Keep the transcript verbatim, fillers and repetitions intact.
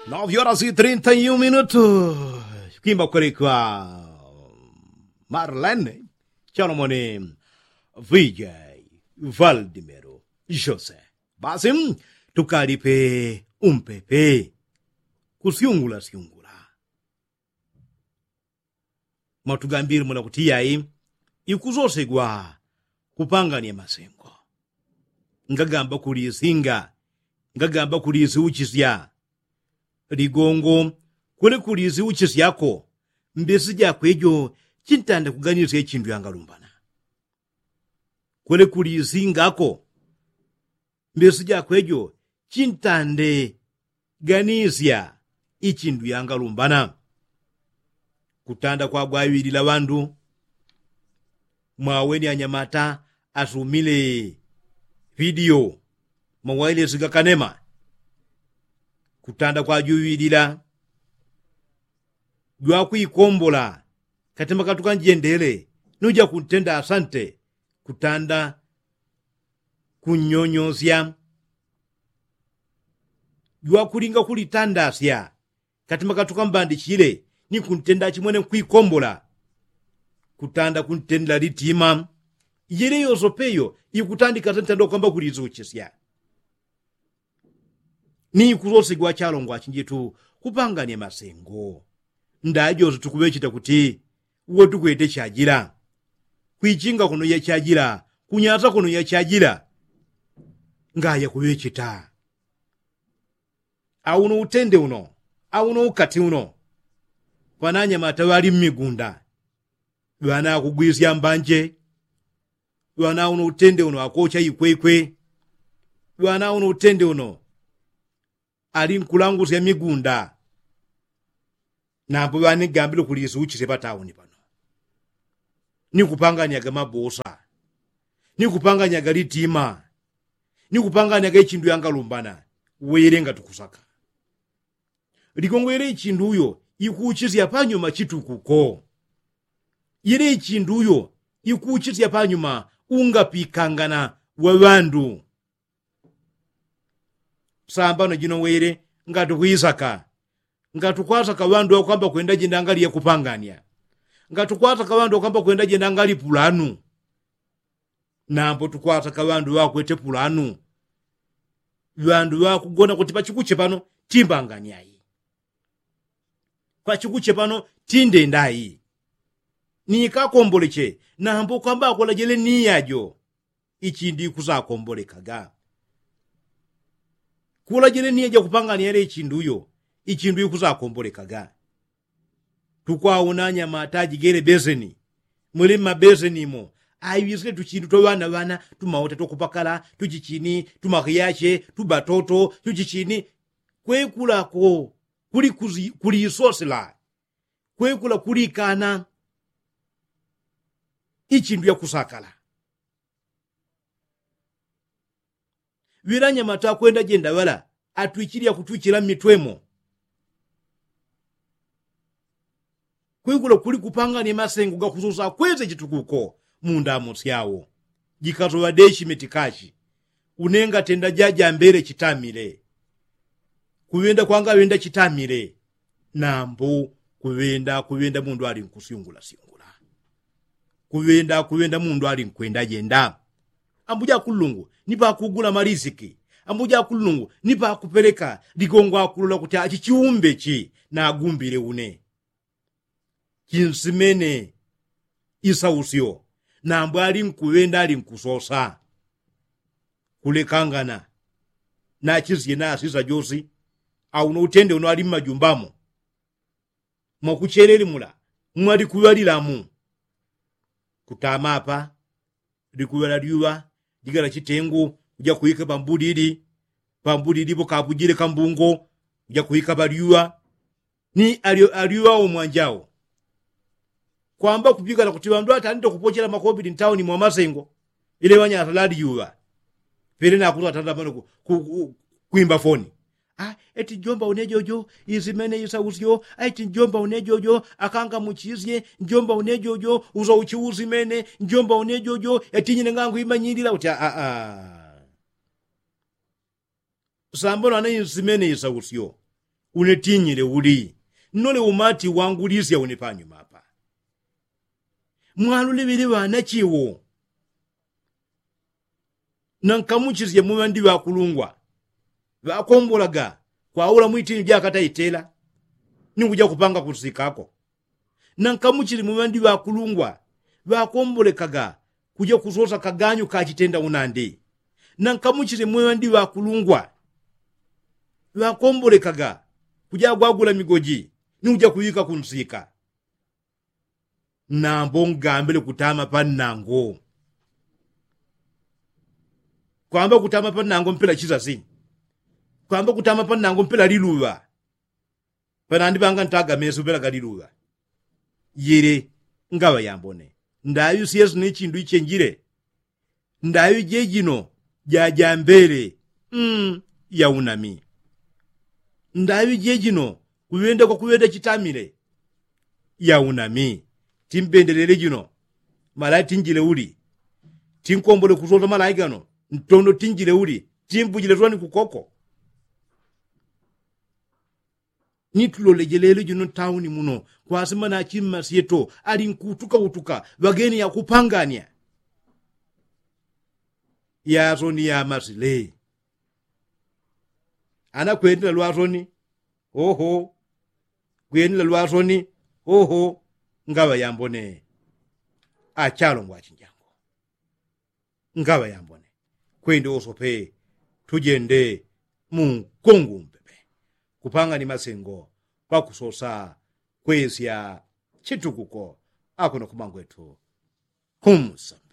Nove horas e trinta e um minutos. Kwimba kwelekwa marlene chalomoni vijay valdimero jose. Basi tukalipe umpepe kusyungula syungula. Mwatugambile mula kuti yai ikusosegwa kupangania masengo. Ngagamba kulisinga ngagamba kulisyuchisya. Ligongo kwele kulisyuchisyako mbesi jakwe jo chintanda kuganisya ichindu yangalumbana. Kwele kuliisingako mbesi jakwe jo chintande ganisya ichindu yangalumbana. Kutanda kwagwawilila ŵandu mwaweni anyamata asumile vidiyo mawailesi gakanema. Kutanda kwajuwilila jwakwikombola katima katukanjendele nuja kuntenda asante. Kutanda kunnyonyosya jwakulinga kulitandasya katima katukambandichile ni kuntenda achimwene nkwikombola. Kutanda kuntendela litima ijele yosopeyo ikutandika sentanda ukwamba kulizuchisya. Ni ikusosigwa chalongwa chinjitu kupangania masengo. Ndajose tukuŵecheta kuti uwo tukwete chajila kwichinga kuno yachajila kunyasa kuno yachajila. Ngaya kuŵecheta auno utende uno auno ukati uno. Ŵananyamata ŵali mmigunda ŵana akugwisya mbanje. Ŵana uno utende uno akocha ikwekwe. Ŵana uno utende uno ali nkulangusya migunda. Nambo ŵanigambile kulisuchisye patauni pano nikupanganyaga mabosa nikupanganyaga litima nikupanganyaga ichindu yangalumbana. Wele ngatukusaka ligongo yele ichindu uyo ikuchisya panyuma chitukuko. Yele ichindu uyo ikuchisya panyuma ungapikangana wa ŵandu. Sambano jino wele ngatukwisaka ngatukwasaka ŵandu ŵakwamba kwenda jenda ngali yakupangania. Ngatukwasaka ŵandu ŵakwamba kwenda jenda ngali pulanu. Nambo tukwasaka ŵandu ŵakwete pulanu. Ŵandu ŵakugona kuti pachikuche pano timbangania ayi. Pachikuche pano tindenda ayi. Nikakomboleche nambo kwamba akolajele niya jo ichindu ikusakombolekaga. Kulajele niya jakupangania yele ichindu uyo ichindu ikusakombolekaga. Tukwauna anyamata ajigele beseni muli mmabeseni imo aiŵisile tuchindu twa ŵana ŵana tumaute twakupakala tuchichini tumahiyache tubatoto tuchichini. Kwekulako kuli kulisosela kwekula kulikana ichindu yakusakala. Ŵilanyamata akwenda jenda ŵala atwichili yakutwichila mmitwemo. Kwikula kuli kupangania masengo gakususa akwese chitukuko mundamo syawo. Jikasoŵa deshi metikashi unenga tenda jajambele chitamile. Kuŵenda kwanga ŵenda chitamile. Nambu kuŵenda kuŵenda mundu ali nkusyungula syungula. Kuŵenda kuŵenda mundu ali nkwenda jenda. Ambuja akulungu ni pakugula malisiki. Ambuja akulungu ni pakupeleka ligongo akulola kuti achi chiumbe chi nagumbile une. Chinsimene isausyo. Nambu ali nkuŵenda ali nkusosa kulekangana. Nachizye nasisa josi auno utende uno ali mmajumba mo. Mwakuchelele mula mwalikuŵalilamu. Kutama apa likuŵala lyuŵa ligala chitengu kuja kuwika pambulili. Pambulili pokapujile kambungo kuja kuwika palyuŵa. Ni alyo alyuŵa omwanjao kwamba kupigala kuti ŵandu atandite kupochela makobili ntauni mwamasengo. Ile ŵanyasa lalyuŵa pele nakusa atandite amano kwimba foni. Eti njomba unejojo isimene isausyo. Eti njomba unejojo akangamuchisye njomba unejojo usauchi usimene njomba unejojo eti nyine ngangu imanyilila kuti aa. Sambano ana insimene isausyo Une tinyile uli nnole umati wangulisya une panyuma apa. Mwalule ŵele ŵanachiwo. Nankamuchisye muŵandi ŵakulungwa ŵakombolaga kwaula mwitini jakataitela ni kuja kupanga kunsikako. Nankamuchisye muŵandi ŵakulungwa ŵakombolekaga kuja kusosa kaganyu kachitenda unandi. Nankamuchisye muŵandi ŵakulungwa ŵakombolekaga kuja gwagula migoji ni kuja kuŵika kunsika. Nambo ngambile kutama pannango. Kwamba kutama pannango mpela chisasi. Kwamba kutama pannango mpela liluŵa. Panandi panga ntaga mesu mpela galiluŵa. Yele ngaŵa yambone. Ndaŵi syesu ni chindu ichenjile. Ndaŵi jejino jajambele. Mm, yaunami. Ndaŵi jejino kuŵenda kwakuŵenda chitamile. Yaunami. Timbendelele jino. Malai tinjile uli. Tinkombole kusota malai gano. Ntondo tinjile uli. Timbujile twani kukoko. Ni tuloleje lelo jino ntauni muno kwasima nachimma syeto ali nkutukautuka ŵageni yakupangania. Yasoni yamasile. Ana kwendela lwasoni. Oho. Kwendela lwasoni. Oho. Ngaŵa yambone. Achalongwa achinjango. Ngaŵa yambone. Kwende usope tujende mu nkungu mpepe. Kupanga ni masengo pakusosa kwesya chitukuko. Akuno kumangwetu. Humsamba.